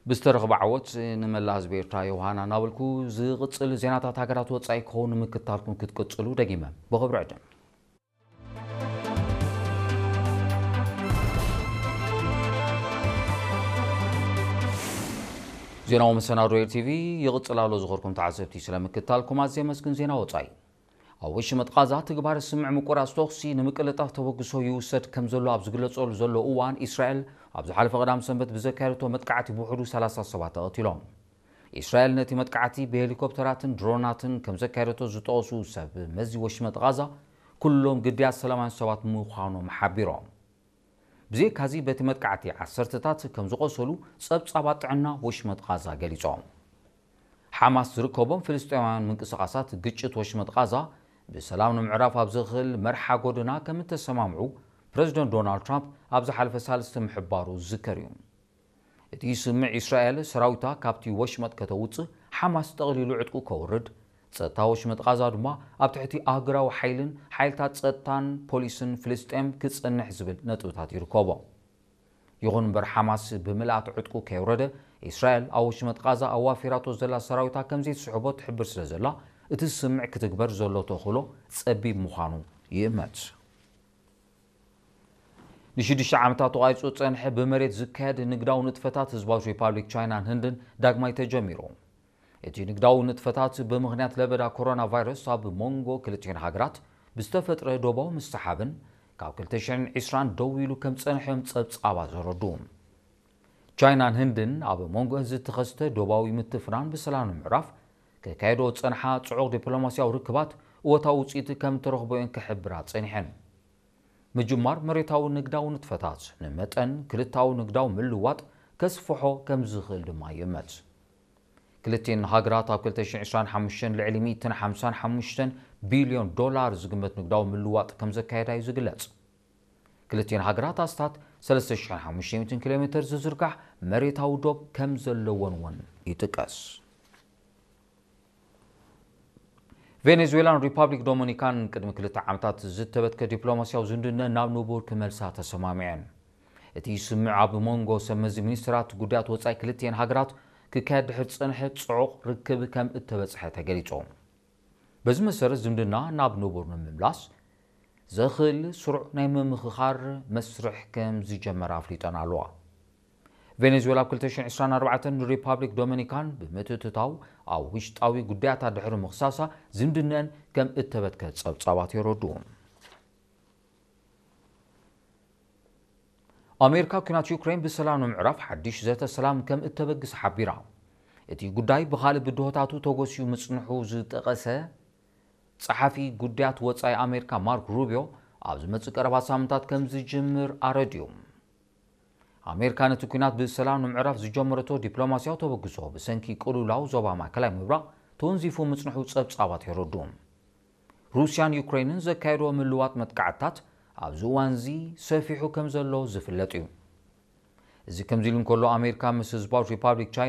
ብዝተረኽበ ዓወት ንመላእ ህዝቢ ኤርትራ ዮሃና እናበልኩ፣ ዝቕጽል ዜናታት ሃገራት ወጻኢ ክኸውን ንምክትታልኩም ክትቅጽሉ ደጊመ ብኽብሪ ዕድም። ዜናዊ መሰናዶ ኤር ቲቪ ይቕጽል ኣሎ። ዝኸርኩም ተዓዘብቲ ስለምክትታልኩም ኣዝየ መስግን። ዜና ወጻኢ። ኣብ ወሽመጥ ቃዛ ትግባር ስምዕ ምቁራጽ ተኹሲ ንምቅልጣፍ ተበግሶ ይውሰድ ከም ዘሎ ኣብ ዝግለጸሉ ዘሎ እዋን፣ እስራኤል ኣብ ዝሓለፈ ቀዳም ሰንበት ብዘካየደቶ መጥቃዕቲ ብውሕዱ ሰላሳ ሰባት ተቐቲሎም። እስራኤል ነቲ መጥቃዕቲ ብሄሊኮፕተራትን ድሮናትን ከም ዘካየደቶ ዝጠቐሱ ሰብ መዚ ወሽመጥ ቃዛ፣ ኩሎም ግዳያት ሰላማውያን ሰባት ምዃኖም ሓቢሮም። ብዘይካዚ በቲ መጥቃዕቲ ዓሰርተታት ከም ዝቖሰሉ ጸብጻባት ጥዕና ወሽመጥ ቃዛ ገሊጾም። ሓማስ ዝርከቦም ፍልስጤማውያን ምንቅስቓሳት ግጭት ወሽመጥ ቃዛ ብሰላም ንምዕራፍ ኣብ ዘኽእል መርሓ ጎደና ከም እተሰማምዑ ፕረዚደንት ዶናልድ ትራምፕ ኣብ ዝሓለፈ ሳልስቲ ምሕባሩ ዝዝከር እዩ። እቲ ስምዕ እስራኤል ሰራዊታ ካብቲ ወሽመጥ ከተውጽእ፣ ሓማስ ጠቕሊሉ ዕጥቁ ከውርድ፣ ጸጥታ ወሽመጥ ቃዛ ድማ ኣብ ትሕቲ ኣህጉራዊ ሓይልን ሓይልታት ጸጥታን ፖሊስን ፍልስጤም ክጸንሕ ዝብል ነጥብታት ይርከቦ። ይኹን እምበር ሓማስ ብምልኣት ዕጥቁ ከየውረደ፣ እስራኤል ኣብ ወሽመጥ ቃዛ ኣዋፊራቶ ዘላ ሰራዊታ ከም ዘይትስሕቦ ትሕብር ስለ ዘላ፣ እቲ ስምዕ ክትግበር ዘሎ ተኽእሎ ጸቢብ ምዃኑ ይእመት። ንሽዱሽተ ዓመታት ተቋይጹ ዝጸንሐ ብመሬት ዝካየድ ንግዳዊ ንጥፈታት ህዝባዊ ሪፓብሊክ ቻይናን ህንድን ዳግማይ ተጀሚሩ። እቲ ንግዳዊ ንጥፈታት ብምኽንያት ለበዳ ኮሮና ቫይረስ ኣብ መንጎ ክልቲኤን ሃገራት ብዝተፈጥረ ዶባዊ ምስሓብን ካብ ክልተ ሽሕን ዕስራን ደው ኢሉ ከም ዝጸንሐ እዮም ጸብጻባት ዘረድኡ። ቻይናን ህንድን ኣብ መንጎ ዝተኸስተ ዶባዊ ምትፍናን ብሰላም ንምዕራፍ ከካየዶ ዝጸንሓ ጽዑቕ ዲፕሎማስያዊ ርክባት እወታዊ ውጽኢት ከም እተረኽቦ እየን ክሕብራ ጸኒሐን። ምጅማር መሬታዊ ንግዳዊ ንጥፈታት ንመጠን ክልታዊ ንግዳዊ ምልውዋጥ ከስፍሖ ከም ዝኽእል ድማ ይእመት። ክልቲኤን ሃገራት ኣብ ክልተ ሽሕን ዕስራን ሓሙሽተን ልዕሊ ሚእትን ሓምሳን ሓሙሽተን ቢልዮን ዶላር ዝግመት ንግዳዊ ምልውዋጥ ከም ዘካየዳ እዩ ዝግለጽ። ክልቲኤን ሃገራት ኣስታት ሰለስተ ሽሕን ሓሙሽተ ሚእትን ኪሎ ሜተር ዝዝርጋሕ መሬታዊ ዶብ ከም ዘለወን እውን ይጥቀስ። ቬኔዙዌላን ሪፓብሊክ ዶሚኒካን ቅድሚ ክልተ ዓመታት ዝተበትከ ዲፕሎማስያዊ ዝምድነን ናብ ንቡር ክመልሳ ተሰማሚዐን። እቲ ስምዕ ኣብ መንጎ ሰብ መዚ ሚኒስትራት ጉዳያት ወጻኢ ክልቲኤን ሃገራት ክካየድ ድሕሪ ዝጸንሐ ጽዑቕ ርክብ ከም እተበጽሐ ተገሊጹ። በዚ መሰረት ዝምድና ናብ ንቡር ንምምላስ ዘኽእል ስሩዕ ናይ ምምኽኻር መስርሕ ከም ዝጀመረ ኣፍሊጠን ኣለዋ። ቬኔዙዌላ ኣብ ክልተ ሽሕን ዕስራን ኣርባዕተን ንሪፓብሊክ ዶሚኒካን ብምትእትታው ኣብ ውሽጣዊ ጉዳያታ ድሕሪ ምኽሳሳ ዝምድነን ከም እተበትከ ጸብጻባት የረድኡ። ኣሜሪካ ኲናት ዩክሬን ብሰላም ንምዕራፍ ሓድሽ ዘተ ሰላም ከም እተበግስ ሓቢራ። እቲ ጉዳይ ብኻልእ ብድሆታቱ ተጎስዩ ምጽንሑ ዝጠቐሰ ጸሓፊ ጉዳያት ወጻኢ ኣሜሪካ ማርክ ሩቢዮ፣ ኣብ ዝመጽእ ቀረባ ሳምንታት ከም ዝጅምር ኣረድዩ። ኣሜሪካ ነቲ ኲናት ብሰላም ንምዕራፍ ዝጀመረቶ ዲፕሎማስያዊ ተበግሶ ብሰንኪ ቅልውላው ዞባ ማእከላይ ምብራቕ ተወንዚፉ ምጽንሑ ጸብጻባት የረድኡ። ሩስያን ዩክሬንን ዘካየድዎ ምልዋጥ መጥቃዕትታት ኣብዚ እዋንዚ ሰፊሑ ከም ዘሎ ዝፍለጥ እዩ። እዚ ከምዚ ኢሉ እንከሎ፣ ኣሜሪካ ምስ ህዝባዊት ሪፓብሊክ ቻይና